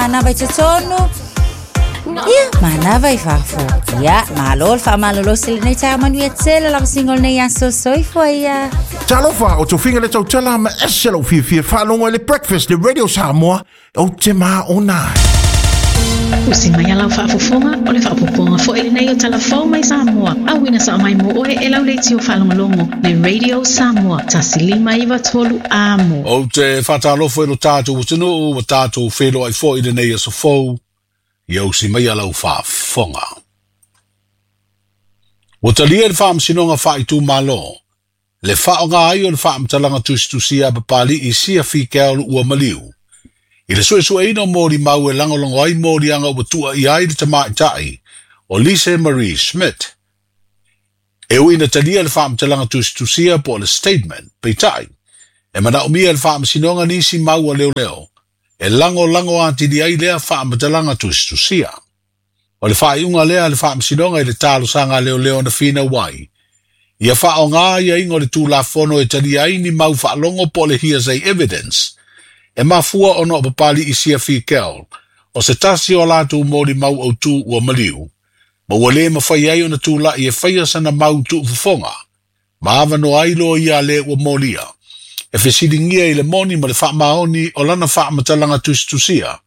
Manava i totonu, ia, manava i fafo. Ia, malo le faamalolosi i lenei taeao manuia tele lava singo lenei aso soifua ia. Talofa, o tofiga le tautala ma ese lou fiafia faalogo i le Breakfast le Radio Samoa, ou te maona ai. Usi mai a lau faafofoga, o le faaopoopoga foi lenei o Tala Fou mai Samoa, auina sao mai mo oe e lau leitio faalogologo le Radio Samoa 1593 Amo. Ou te faatalofa i lo tatou atunuu ua tatou feiloai foi i lenei aso fou, ia usi maia lau faafofoga. Ua talia e le Faamasinoga Faaitumalo le faaaoga ai o le faamatalaga tusitusia a Papali'i Sia Fikeaolo ua maliu i le suesueina o molimau e lagolago ai moliaga ua tuuaia ai le tamaitai o Lise Marie Schmidt. E ui ina talia le faamatalaga tusitusia po o le statement, peitai, e manaomia e le Faamasinoga nisi mau a leoleo e lagolago atili ai lea faamatalaga tusitusia. O le faaiuga lea a le Faamasinoga i le talosaga a leoleo na finau ai, ia faaaoga aiaiga o le Tulafono e talia ai ni mau faalogo po o le hearsay evidence, e mafua ona o Papali'i Sia Fikel o se tasi o a latou molimau autu ua maliu, ma ua le mafai ai ona tulai e faia sana mau tuufofoga, ma avanoa ai loia a le ua molia, e fesiligia i le moni ma le faamaoni o lana faamatalaga tusitusia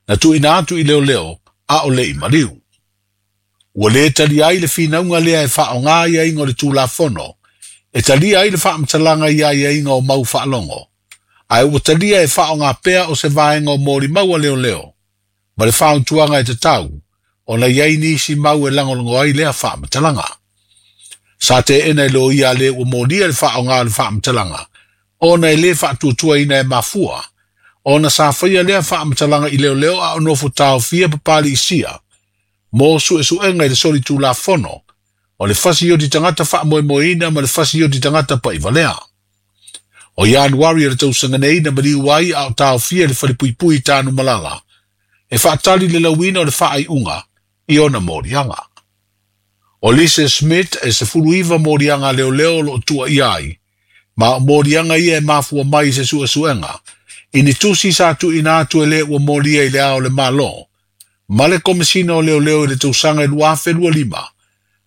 na tuuina atu i leoleo a o le i maliu. Ua le talia ai le finauga lea e faaaoga aiaiga o le Tulafono e talia ai le faamatalaga i aiaiga o mau faalogo, ae ua talia e faaaoga pea o se vaega o molimau a leoleo ma le fautuaga e tatau ona i ai nisi mau e lagolago ai lea faamatalaga. Sa teena e loia a le ua molia le faaaoga o le faamatalaga ona e le faatuatuaina e mafua ona sa faia lea faamatalaga i leoleo a o nofo taofia Papali'i Sia mo suesuega i le solitulafono o le fasioti tagata faamoemoeina ma le fasioti tagata pa'ivalea. O Ianuari o le tausaga nei na maliu ai a o taofia i le falepuipui i Tanumalala e faatali le lauina o le faaiuga i ona moliaga. O Lise Schmidt e 19 moliaga a leoleo o lo o tuuaia ai, ma o moliaga ia e mafua mai i se suesuega i ni tusi sa tuuina atu e le ua molia i le Ao o le Malo ma le Komesina o Leoleo i le tausaga e 2025,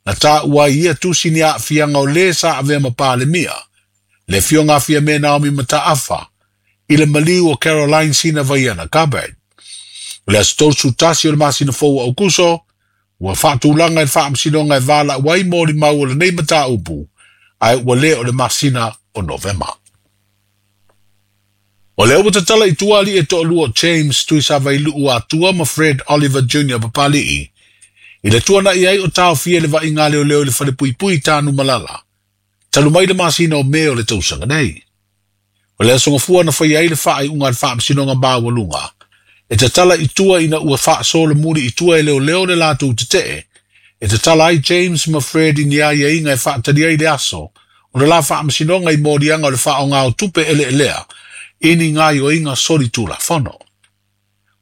na taua ai ia tusi ni aafiaga o le sa avea ma Palemia, le Afioga a Fiame Naomi Mataafa, i le maliu o Caroline Sina Vaiana Gabbard. O le aso 31 o le masina fou o Aukuso, ua faatulaga i le Faamasinoga e valaau ai molimau o lenei mataupu, ae ua le o le masina o Novema. O lea ua tatala i tua alii e toalua o James Tuisavailuu Atua ma Fred Oliver Junior Papali'i i le tuanai ai o taofia i le vaaiga a leoleo i le falepuipui i Tanumalala talu mai le masina o Me o le tausaga nei. O le aso Gafua na faia ai le faaiuga a le Faamasinoga Maualuga e tatala i tua ina ua faasolomuli i tua e leoleo le latou tetee e tatala ai James ma Fred i ni aiaiga e faatali ai le aso o le la faamasinoga i moliaga o le faaaoga o tupe eleelea i ni gaoioiga solitulafono.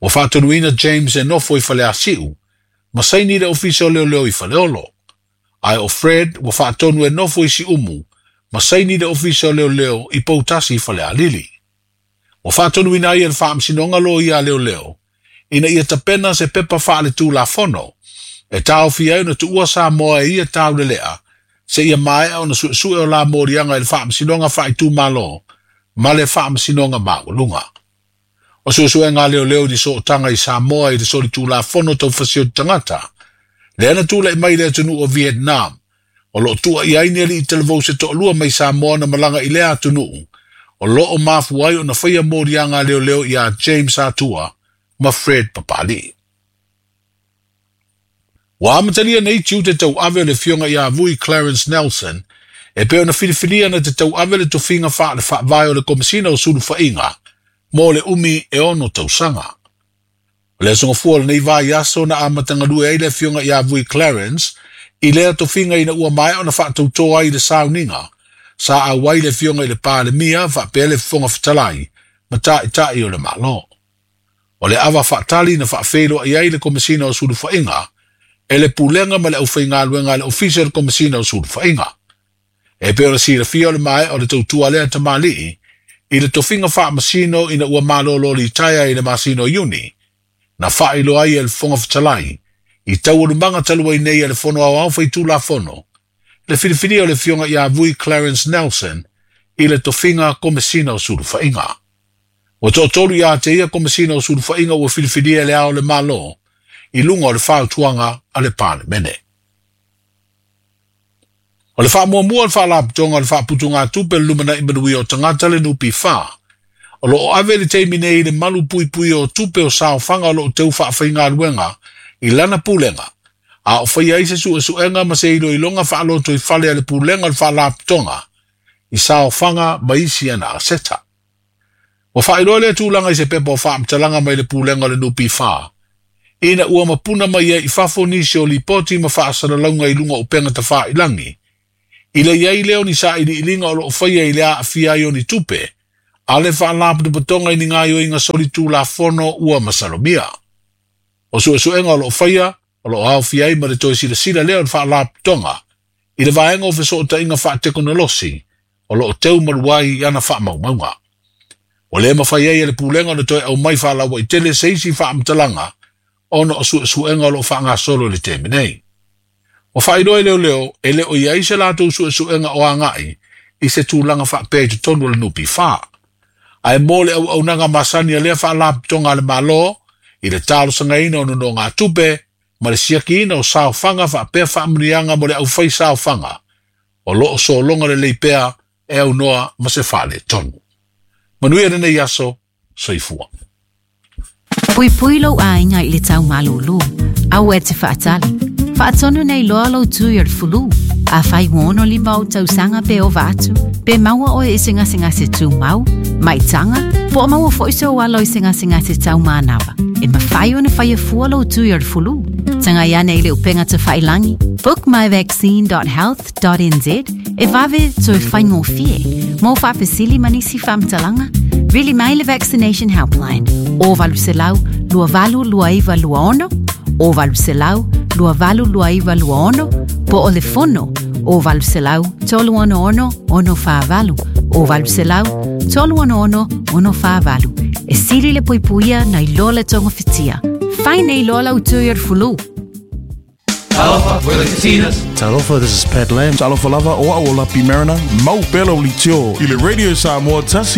Ua faatonuina James e nofo i Faleasiu ma saini i le Ofisa o Leoleo i Faleolo. Ae o Fred ua faatonu e nofo i Siumu ma saini i le Ofisa o Leoleo i Poutasi i Falealili. Ua faatonuina ai e le Faamasinoga Loia a Leoleo ina ia tapena se pepa faaletulafono e taofia ai ona tuua Samoa e ia taulelea seia maea ona suesue o la moliaga i le Faamasinoga Faaitumalo ma le Faamasinoga Maualuga. O suesuega a leoleo i ni sootaga i Samoa i le solitulafono tau fasioti tagata, lea na tulai mai i le atunuu o Vietnam, o lo o tuuaia ai ni alii talavou se toalua mai Samoa na malaga i lea atunuu, o lo o mafua ai ona faia moliaga a leoleo iā James Atua ma Fred Papali'i. Ua amatalia nei tiute tauave o le Afioga ia Vui Clarence Nelson e pei ona filifilia na te tauave le tofiga faale-faavae o le Komesina o Sulufaiga mo le umi e ono tausaga. O le aso Gafua o lenei vaiaso na amata galue ai le Afioga ia Vui Clarence i lea tofiga ina ua maea ona faatautō ai i le sauniga sa auai le Afioga i le Palemia faapea le Fofoga Fetalai ma Taitai o le Malo. O le ava faatali na faafeiloai ai le Komesina o Sulufaiga e le Pulega ma le aufaigaluega a le Ofisa o le Komesina o Sulufaiga. E pei ona silafia o le maea o le tautua lea tamalii i le tofiga faamasino ina ua malolo litaea i le masina o Iuni Na faailoa ai e le Fofoga Fetalai i taualumaga talu ai nei a le Fono Aoao Faitulafono le filifilia o le Afioga ia Vui Clarence Nelson i le tofiga Komesina o Sulufaiga. Ua toatolu ia te ia Komesina o Sulufaiga ua filifilia e Le Ao o le Malo i luga o le fautuaga a le Palemene. O le faamuamua o le Faalapotopotoga o le Faaputugatupe o le Lumanai Manuia o Tagata le NPF, o lo o ave i le taimi nei i le malu puipuia o tupe o saofaga o lo o teu faafaigaluega i lana pulega, a o faia ai se suesuega ma se iloiloga faalotoifale a le Pulega o le Faalapotopotoga i saofaga ma isi ana aseta. Ua faailoa lea tulaga i se pepa o faamatalaga mai le Pulega o le NPF, ina ua mapuna mai ai i fafo nisi o lipoti ma faasalalauga i luga o upega tafailagi, i le i ai lea o ni sailiiliga o lo o faia i le aafia ai o ni tupe a le Faalapotopotoga i ni gaoioiga solitulafono ua masalomia. O suesuega o lo o faia, o lo o aofia ai ma le toe silasila lea o le Faalapotopotoga i le vaega o fesootaiga faatekonolosi o lo o teu malu ai i ana faamaumauga. Ua le mafai ai e le Pulega ona toe aumai faalauaitele se isi faamatalaga ona o suesuega o lo o faagasolo i le taimi nei. Ua faailoa e leoleo e le o i ai se latou suesuega o agai i se tulaga faapea i totonu o le NPF. Ae mo le auaunaga masani a lea Faalapotopotoga a le Malo i le talosagaina o nonogatupe ma le siakiina o saofaga faapea faamanuiaga mo le aufai saofaga o lo o sologa lelei pea e aunoa ma se faaletonu. Manuia lenei aso, soifua. Puipui lou aiga i le tau malūlū. Aua e te faatali. Faatonu nei loa lou tui o le fulu. Afai ua 65 ou tausaga pe ova atu, pe maua oe i se gasegase tumau, maitaga, po o maua foi sou alo i se gasegase tau manava, e mafai ona faia fua lou tui o le fulu. Tagai ane i le upega tafailangi bookmyvaccine.health.nz e vave toe faigofie. Mo faafesili ma nisi faamatalaga, vili mai le Vaccination Helpline o 800 2829 26 o 800 2829 26 po o le fono o 800 366 648 o 800 366 648. E sili le puipuia nai lo le togafitia. Fai nei loa lau tui o le fulu. Talofa, we're the Katinas. Talofa, this is Pat Lam. Talofa lava o au o Lapi Mariner, mau pea lau leitio i le Radio Samoa tasi.